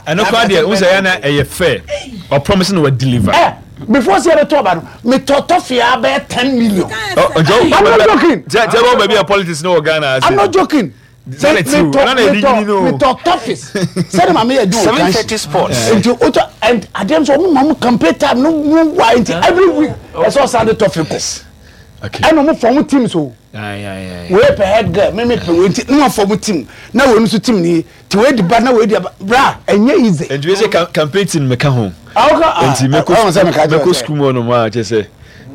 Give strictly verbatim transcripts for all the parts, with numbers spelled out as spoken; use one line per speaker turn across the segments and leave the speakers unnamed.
Ɛno kora deɛ, wo sɛ yɛ na ɛyɛ fair, ɔpromise na wa deliver.
Ɛ before sɛ yɛbɛtɔ ɔba no, metɔ toffee a bɛyɛ ten million.
I'm
not joking.
Kyɛ kyɛ bɔ baabi a politics no wɔ Ghana ase.
I'm not joking.
Sɛ na ti o, ɛna na yɛde nyini no o.
Metɔ toffees sɛde ma meyɛ adwuma wɔ
seven
kansi
thirty Sports.
Nti wotɔ and adeɛ nso, ɔmo ma mo campaign time no mu wa, nti every week ɛsɛ ɔsan de toffee kɔ.
Okay.
Ɛna ɔmo form teams o.
Aye, aye, aye.
Wei pɛ head girl, mímí pɛ wei, nti ne ma form team na wei nso team ni ti wei di ba na wei di aba. Bra, ɛnyɛ easy.
Nti wei sɛ cam- campaign team meka ho.
Awoka.
Nti mɛkɔ
ɔwɔ sɛ meka kyerɛ
mɛkɔ
sɛ
school mu hɔ nom a, kyerɛ sɛ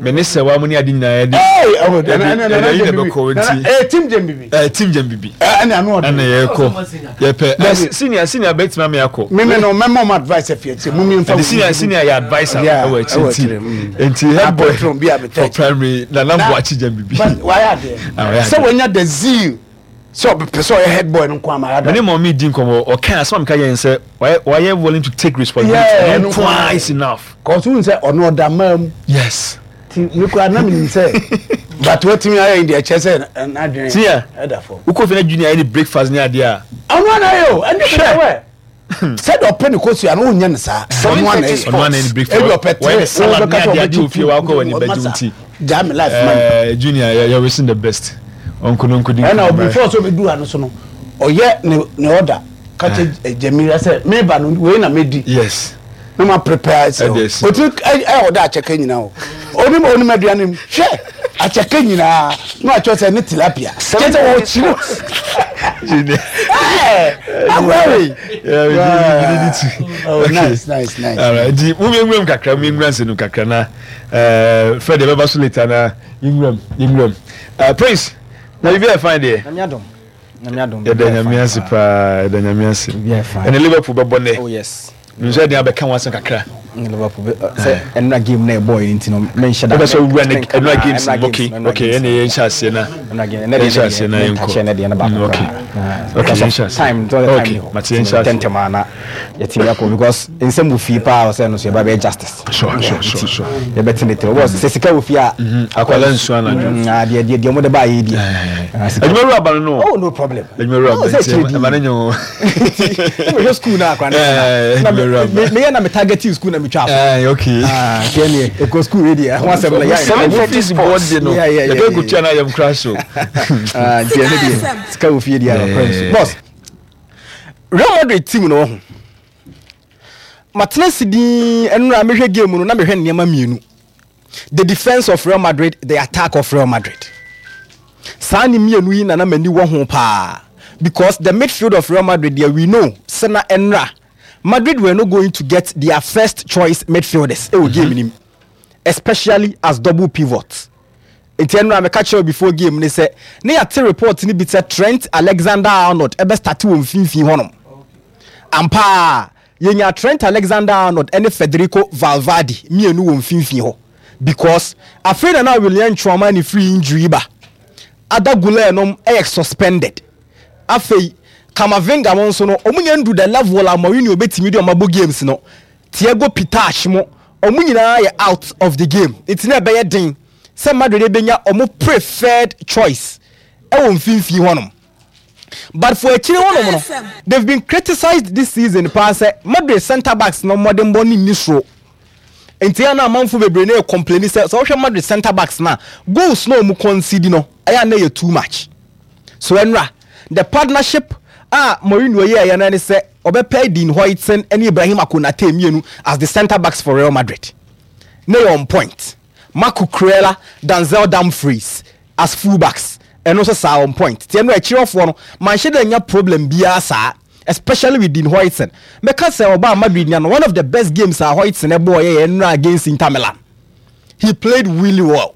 me ne sɛ wa mo ne ade nyinaa yɛde
ee, ɔwɔ
yɛde
ɛna ɛna
yɛde
ɛna
ayi na
gyem
bɛkɔ
bibi
nti
ɛɛ team gyem bibi.
Ɛɛ, team gyem bibi.
Ɛna ano
ɛna
ɔde.
Yɛkɔ yɛpɛ
Dabi.
senior senior bɛtumi ame akɔ.
Mímí no, mɛmɔ mo advice ɛfi akyire mu mi nfa.
Ɛde senior senior yɛ adviser
Yeah,
ɛwɔ akyire
ɛwɔ
nti
akyire, mm.
nti head boy
Patron bi a metɛ
for
akyire.
primary, Nana Buakye gyem bibi.
But wayɛ adeɛ
Ah, wayɛ
sɛ
adeɛ.
wɔnya the zeal sɛ ɔbɛpɛ sɛ ɔyɛ head boy no nko ama
mene
yɛada.
ma ɔme di nkɔmmɔ, ɔka asɛm a meka yɛn sɛ wayɛ wayɛ willing to take responsibility.
Yeah,
ɛno
ɛno
nko
nko
ara
ara.
is enough.
Kɔsu n sɛ ɔno ɔda maa mu.
Yes.
Ti mi kura na mi nim sɛ, but watumi ayɛ yi deɛ, kyerɛ sɛ n'adwene
Senior.
ɛda fam.
Wokɔ fie na junior ayɛ ne breakfast ne adeɛ a,
Ɔno ana yɛ o, ɛne bi wɛ sɛdeɛ ɔpɛ ne kosua no, wonyɛ ne saa, ɔno ana yɛ.
Ɔno ana yɛ ne breakfast.
Ebi ɔpɛ
wɔyɛ
tere
ne salad ne adeɛ adeɛ wɔ fie, wakɔ wɔ ne bɛgye nti.
Gyaa me life man.
Eh, junior yɛ yɛ wishing the best, ɔnko no nkodi.
Ɛna before sɛ ɔbɛdu ha no so no, ɔyɛ ne ne order kakyɛ Jamila sɛ meba no, wei na medi.
Yes
na ma prepare sɛ
Ɛde asi.
Otumi ɛyɛ ɔda akyɛkɛ nyinaa o, onim onim aduane mu hwɛ akyɛkɛ nyinaa na wakyerɛ sɛ ne tilapia kyɛ sɛ wɔkyerɛ.
Junior.
Ɛɛ, akwari.
Yeah, we need, we need to.
Oh, nice, nice, nice.
All right. Nti mu yɛnwuram kakra, mu yɛnwura nsɛm no kakra na eh Fred yɛbɛba so later na yɛnwuram, yɛnwuram. Uh, Prince, na biribi ayɛ fine deɛ.
Nyame adom. Nyame adom.
Yɛda Nyame ase paa, yɛda Nyame ase.
Biribi ayɛ fine.
Ɛne Liverpool bɛbɔ nnɛ.
Oh yes.
Nso ɛde abɛka ho asɛm kakra.
Ne Liverpool bɛ sɛ ɛnura game na ɛbɔ yi nti no, menhyɛ da.
Wobɛ sɛ wowura ne ɛnura games no, okay, okay, ɛne yɛnhyɛ aseɛ na
ɛnura game ɛnɛ deɛ
yɛnhyɛ aseɛ na yɛnkɔ.
yɛnkɔ ɛnɛ deɛ ne baako
Mm, okay.
koraa.
Okay, yɛnhyɛ aseɛ.
Time time
Okay,
ni hɔ.
mate, yɛnhyɛ aseɛ.
Tɛntɛm a na yɛtumi akɔ because nsɛm wɔ fie paa, ɔsɛ no so yɛba bɛyɛ justice.
Sure, sure, sure, sure.
Yɛbɛte ne tiri wɔs sɛ sika wɔ fie a.
Akwala nsuo anadwo.
Mm, ah, deɛ deɛ deɛ ɔmo de ba yɛ deɛ. Ah, sika-
Adwuma wura aba no no.
Oh, no problem.
Adwuma wura
Oh,
aba
sɛ
nti
kyerɛ di.
ɛma ne nyɛ o.
Mehwɛ school na akora ne
Eh,
na
adwuma wura aba.
me meyɛ na me target school na metwa so.
Eh, okay.
Ah, nti ɛneɛ ɛkɔ school wei deɛ, ɛho asɛm no yɛ.
Seven
Ɔmo
thirty
fees
Sports.
board de no.
Yeah, yeah, yeah,
Yɛbɛ
yeah,
kutua na yɛm kora so.
Ah, nti ɛne deɛ, sika wɔ fie deɛ
Yeah.
yeah. Boss, Real Madrid team no wɔ ho, matena si din ɛnora mehwɛ game no na mehwɛ nneɛma mmienu: the defence of Real Madrid, the attack of Real Madrid. Saa ne mmienu yi nana m'ani wɔ ho paa because the midfield of Real Madrid deɛ, we know sɛ na ɛnora Madrid were not going to get their first choice midfielders ɛwɔ game nim, especially as double pivot. Nti ɛno a meka kyerɛw before game ne sɛ ne yɛate report no bi sɛ Trent Alexander Arnold ɛbɛ start wɔ mfimfini hɔnom. Ampaa yɛnya Trent Alexander Arnold ɛne Federico Valverde mmienu wɔ mfimfini hɔ because afei na na Aurelien Tchouameni firi injury ba, Arda Guler nom ɛyɛ suspended, afei Camavinga mo nso no, ɔmo nya ndu the level a Mourinho obetumi de ɔmo abɔ games no. Thiago Pitarch mo, ɔmo nyinaa yɛ out of the game, nti na ɛbɛyɛ den sɛ Madrid ebenya ɔmo preferred choice ɛwɔ mfimfini hɔnom. But for akyire hɔnom no, they've been criticised this season paa sɛ Madrid centre backs no mmɔdenbɔ ne nni soro, nti ɛna amanfo bebree na yɛ complain sɛ sɛ wɔhwɛ Madrid centre backs na goals na ɔmo concede no, ɛyɛ ana yɛ too much. So ɛnra the partnership a Mourinho yɛ ɛyɛ no ne sɛ ɔbɛpɛ Dean Huijsen ne Ibrahim Konate mmienu as the centre backs for Real Madrid ne yɛ on point. Marc Cucurella, Denzel Dumfries as full backs, ɛno nso saa on point. Tiɛ no akyirɛfoɔ no manhyɛ dɛ nya problem biara saa, especially with Dean Huijsen. Mɛka sɛ ɔbaa Madrid nya no, one of the best games a Huijsen ɛbɔɔ yɛ yɛ nnura against Inter Milan. He played really well.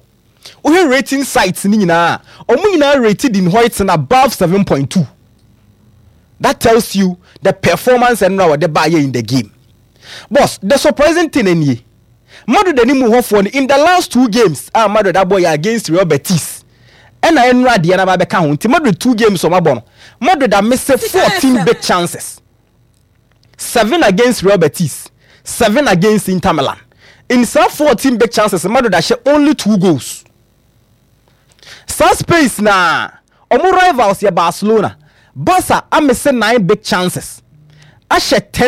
Wohwɛ rating sites ni nyinaa, ɔmo nyinaa rated Dean Huijsen above seven point two. That tells you the performance ɛnura wɔde baayɛ in the game. Boss, the surprising thing nie: Madrid anim hɔfoɔ no, in the last two games a Madrid abɔ yɛ against Real Betis ɛna ɛnura adeɛ na ba bɛka ho, nti Madrid two games ɔmo abɔ no, Madrid amiss fourteen big chances: seven against Real Betis, seven against Inter Milan. In saa fourteen big chances, Madrid ahyɛ only two goals. Saa space na ɔmo rivals yɛ Barcelona. Barca amiss nine big chances, ahyɛ ten.